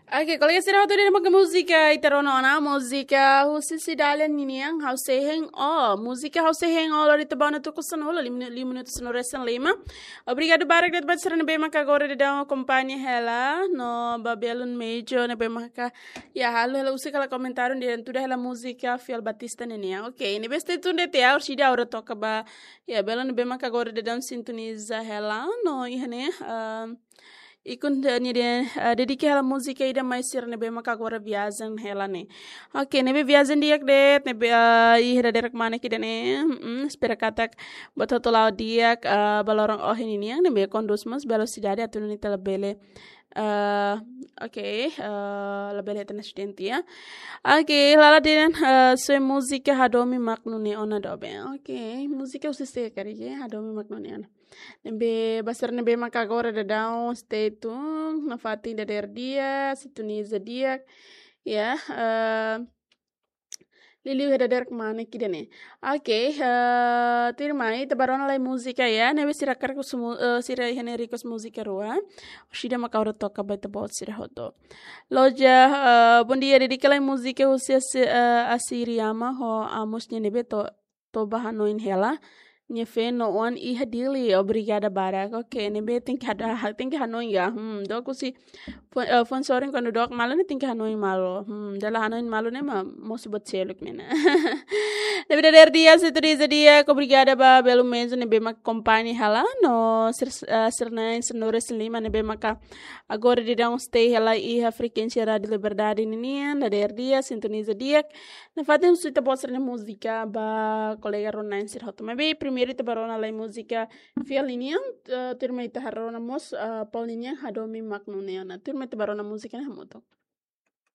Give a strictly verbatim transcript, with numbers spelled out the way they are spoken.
Oke, kolega sira hotu, ida-ne'e mak múzika ita rona ona, múzika husi Cidalia ninian, Ha'u Sei Hein Ó. Múzika Ha'u Sei Hein Ó lori ita ba ona tuku sanulu, lima minu-, lima minutu sanulu-resin-lima. Obrigadu barak de'it ba sira ne'ebé maka agora daudaun akompaña hela, no ba belun Mejo ne'ebé maka, ya, halo hela husik hela komentáriu, dehan tuda hela múzika Fiel Batista ninian. Oke, ne'ebé stay tune de'it ya, orsida ha'u atu toka ba, ya, belun ne'ebé maka agora daudaun sintoniza hela, no iha ne'e, ah, ikun de-, nia dehan, ah, dedika hela múzika ida mai sira ne'ebé maka agora viajen hela ne'e. Oke, ne'ebé viajen di'ak de'it, ne'ebé, ah, iha dadeer-saan ida-ne'e, mm, espera katak buat hotu la'o di'ak, ah, ba loron ohin ninian, ne'ebé kondús mós velosidade atu nune'e ita labele, ah, oke, ah, labele hetan asidente ya. Oke, lala dehan, ah, sua múzika hadomi mak nune'e ona doben. Oke, múzika husi sé karik, hadomi mak nune'e ona. Ne'ebé ba sira ne'ebé maka agora daudaun stay tune, nafatin dadeer di'ak, sintoniza di'ak, ya, eh, liuliu iha dadeer-saan ida-ne'e. Oke, eh, tuirmai, ita bá rona lai múzika ya, ne'ebé sira hakarak husu mu-, eh, sira iha ne'e request múzika rua, orsida mak ha'u atu toka ba ita-boot sira hotu. Loja, eh, bom dia, dedika lai múzika husi Asi-, eh, Asiriama ho Amos nia ne'ebé to'o, to'o bá hanoin hela nia feen no oan iha Dili. Obrigada barak. Oke, ne'ebé tenke hada-, tenke hanoin ya. Hmm, dook husi fo-, eh, fone sorin kuandu dook malu ne'e tenke hanoin malu. Hmm, dala hanoin malu ne'e mak mosu buat seluk ne'e ona. Ne'ebé dadeer di'ak, sintoniza di'ak, obrigada ba belun Mejo ne'ebé mak akompaña hela, no sir-, eh, sira na'in sanulu-resin-lima ne'ebé maka agora daudaun stay hela iha frekuénsia Rádiu Liberdade ninian, dadeer di'ak, sintoniza di'ak. Nafatin husu ita-boot sira nia múzika ba kolega rona-na'in sira hotu. Maibé primeiru ita bá rona lai múzika Fiel ninian, eh, tuirmai ita haree rona mós, eh, Paul ninian, hadomi mak nune'e ona. Tuirmai ita bá rona múzika ne'e hamutuk.